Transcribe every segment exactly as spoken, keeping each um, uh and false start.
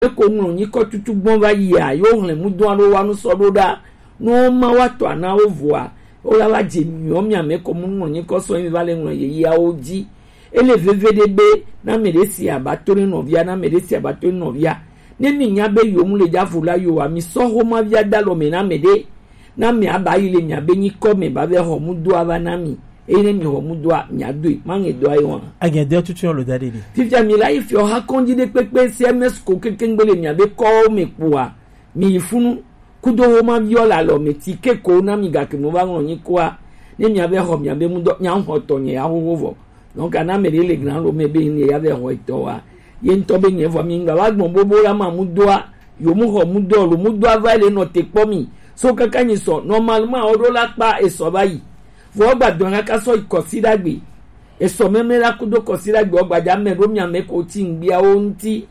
Eko ŋlɔ nyikɔ tutu gbɔn va yia, yo hlɛn mu dɔn alo wa nu sɔ ɖo ɖa. No ma wa tɔ ana wo vɔa, wo la va dze miɔ mia mɛ ko mu ŋlɔ nyikɔ sɔ mi va le ŋlɔ yeyeawo dzi. Ele veve ɖe be na mɛ ɖe si abato ne nɔvia, na mɛ ɖe si abato ne nɔvia. Ne mi nya be yo mu le dza vo la yo wa, mi sɔ xoma via da lɔ mɛ na mɛ ɖe. Na mi aba yi le mia be nyikɔ mɛ ba vɛ xɔ mu do ava na mi. Eye ne mi xɔ mu doa, mia doe. Ma ŋɛ dɔ ayi wa. Agɛ dɔ tutu lo da ɖe ɖe. Fifia mi la yi fiɔ ha kɔndzi ɖe kpekpe C M S ko kekeŋgbe le mia be kɔwo mɛ kpoa. Mi yi funu. Kudo wo ma viɔ la lɔ mɛ ti ke ko na mi gake mo va ŋlɔ nyikɔa. Ne mia be xɔ mia be mu dɔ, mia xɔ tɔ nyɛ ya xoxo vɔ. Donc, ana mɛ ɖe le gran lo mɛ be ne ya vɛ xɔ etɔ wa. Ye ŋutɔ be nyɛ vɔ mi ŋgba va gbɔn bobo la ma mu doa, yo mu xɔ mu dɔ lo mu doa va le nɔ te kpɔ mi. So kaka nyi sɔ, normalement, o ɖo la kpa esɔ va yi. Vɔ gba dɔn kaka sɔ yi kɔsi ɖagbe. Esɔ mɛmɛ la kudo kɔsi ɖagbe, o gba dza mɛ ɖo mia mɛ ko ti ŋgbia wo ŋuti.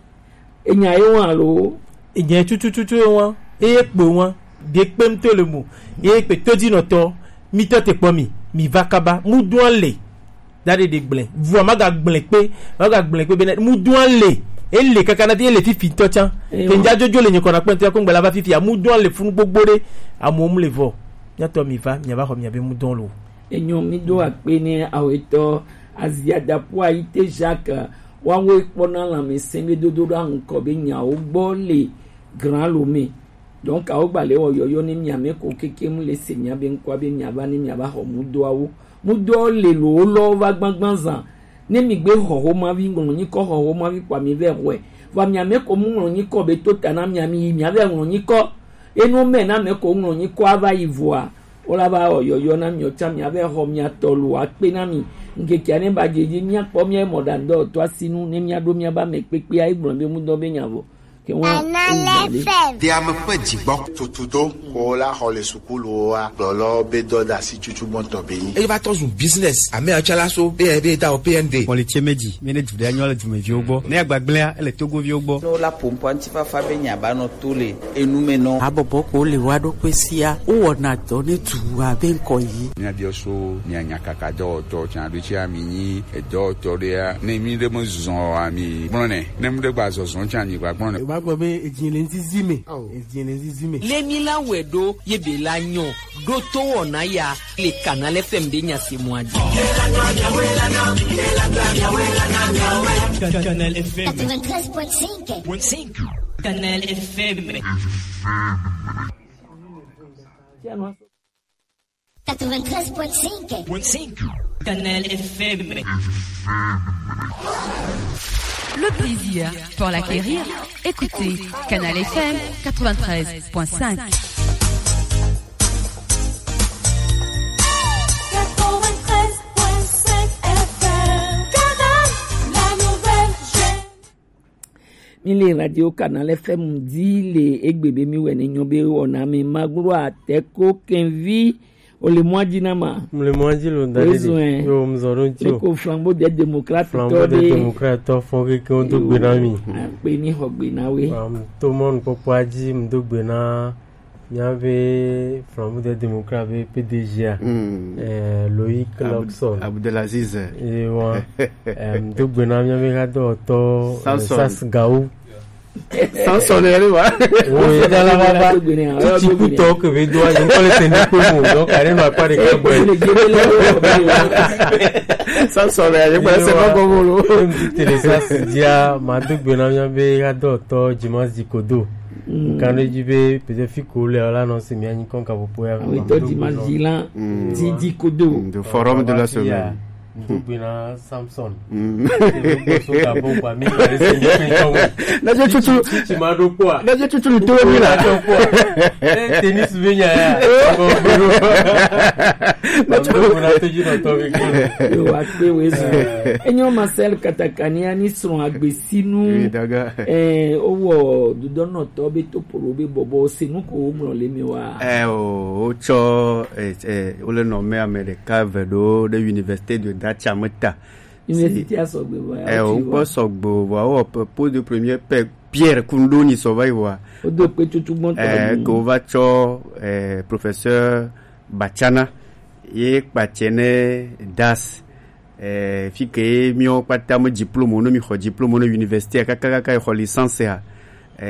Enya ye wa lo. Enya tutututu ye wa. Eye kpe wa. De kpem to le mo. Eye kpe to dzi nɔ tɔ. Mi tɔ te kpɔ mi. Mi va kaba. Mu dɔn le. Da ɖe ɖe gblẽ. Vua ma ga gblẽ kpe. Ma ga gblẽ kpe bena mu dɔn le. Ele kaka na ti ele fifi tɔ tsa. Ewa. Ke ŋdza jojo le nyikɔ na kpɛntɔ ya ko ŋgbɛ la va fifi ya. Mu dɔn le funu gbogbo ɖe. Amewo mu le vɔ. Mia tɔ mi va. Mia va xɔ mia be mu dɔn lo. Enyo mi do akpe ne awetɔ. Azia dapo ayite Jacques. Wawo kpɔna lãmesẽ be dodo ɖo aŋkɔ be nyawo gbɔ le gran lo me. Donc, awo gba le wɔ yɔyɔ ne mia mɛ ko keke mu le se mia be ŋkɔa be mia va ne mia va xɔ mudoawo. Mudoawo le lo wo lɔ va gbagban zan. Ne mi gbe xɔ xomavi ŋlɔ nyikɔ xɔ xomavi kpa mi vɛ xɔe. Va mia mɛ ko mu ŋlɔ nyikɔ be to ta na mia mi yi mia vɛ ŋlɔ nyikɔ. Enu mɛ na mɛ ko ŋlɔ nyikɔ ava yi vɔa. Wo la va wɔ yɔyɔ na mi o tsa mia vɛ xɔ mia tɔ lo akpe na mi. Ŋkeke ne ba dze dzi mia kpɔ mia mɔ ɖa ŋdɔ to asinu ne mia ɖo mia ba mɛ kpekpe ayi gblɔ be mudɔ be nya vɔ. Ke wa Kanal F M. Diame ƒe dzigbɔ tutudo ko la xɔ le sukulu wa gblɔlɔ be dɔ da si tutu gbɔntɔ be yi. Eye va tɔ zu business. Ame atsala so be be da o P N D. Kɔli tse me dzi, mi ne du ɖe anyo le dumeviwo gbɔ. Ne agbagblẽa, ele togoviwo gbɔ. No la pompo antifafa be nya ba nɔ to le enu me nɔ. Abɔbɔ ko le wa ɖo kpe sia. Wo wɔna dɔ ne du abe ŋkɔ yi. Mia biɔ so mia nya kaka dɔwɔtɔ tsa ɖo tsi ami nyi edɔwɔtɔ ɖea. Ne mi ɖe me zɔn ami gblɔ nɛ. Ne mi ɖe gba zɔzɔn tsa nyi gba gblɔ nɛ. Ba gbɔ be edzi le nzizi me. Edzi le nzizi me. Le mi la wɛ ɖo ye be la nyɔ. Ɖo to wɔna ya le Kanal F M ɖe nya se mɔ adi. Kanal F M. Quatre-vingt-treize point cinq. Kanal F M. Quatre-vingt-treize point cinq. Kanal F M. Le plaisir pour l'acquérir. Écoutez Kanal F M quatre-vingt-treize point cinq. Quatre-vingt-treize point cinq F M. Kanal, la nouvelle chaîne. Mi le radio Kanal F M dzi le egbe be mi wɛ ne nyɔ be wɔna mi maglo ateko kenvi o le mɔ dzi na ma. Mo le mɔ dzi lo da ɖe. Yo, mo zɔ ɖo ŋuti o. Ko Flambeau des Démocrates tɔ ɖe. Flambeau des Démocrates tɔ fɔ keke wo do gbe na mi. Akpe ni xɔ gbe na we. Am to mɔ nukpɔkpɔa dzi mo do gbe na Mía be Flambeau des Démocrates be P D G a, eh, Loïc Luxon. Abdelaziz. Ye wa, em, do gbe na mía be hadɔwɔtɔ, eh, Samson. Sas Gaou. Samson yɛ le wa. Wo ye da la va va. Titi kutɔ ke be do a, je kɔle teni ko mo, donc ale ma pa de ka boy. Samson yɛ, je kɔle se ma ko mo lo. Em, ti tele Sas dia, ma do gbe na mía be hadɔwɔtɔ Jimas Dikodo. Mm. Kan ɖe dzi be peut-être fi ko le la nɔ se mia nyi kɔn kaƒoƒo ya. Awetɔ Dimanche dzi la, mm, didi kodo. Mm, the forum de la semaine. Ŋdo gbe na Samson. Mm. Se be ko so ka bo kwa mi le se nyi kɔn. Na je tutu. Tutu ma do kwa. Na je tutu ni to mi la. Eh, tennis be nya ya. Ŋdo gbe na to dzi nɔ tɔ be ko. Yo, wa kpe we zo. Enyo Marcel Katakania ni srɔ̃ agbe sinu. Oui, daga. Eh, owɔ dudɔnɔtɔ be to polo be bɔbɔ se nu ko wo ŋlɔ le mi wa. Eh, o, o tsɔ, eh, eh, wo le nɔ me ame ɖeka ve ɖo ɖe Université de Dachameta. Université a sɔgbe vɔ ya. Eh, o kpɔ sɔgbe vɔ, o pe-, po de premier pe-, Pierre Kundoni sɔ va yi vɔ. O do pe tutu gbɔn tɔ. Eh, ke wo va tsɔ, eh, professeur Bachana, ye kpatsɛ ne Das. Eh, fi ke ye míawo kpata me diplôme, ne mi xɔ diplôme ne université, kaka, kaka, xɔ licence ya.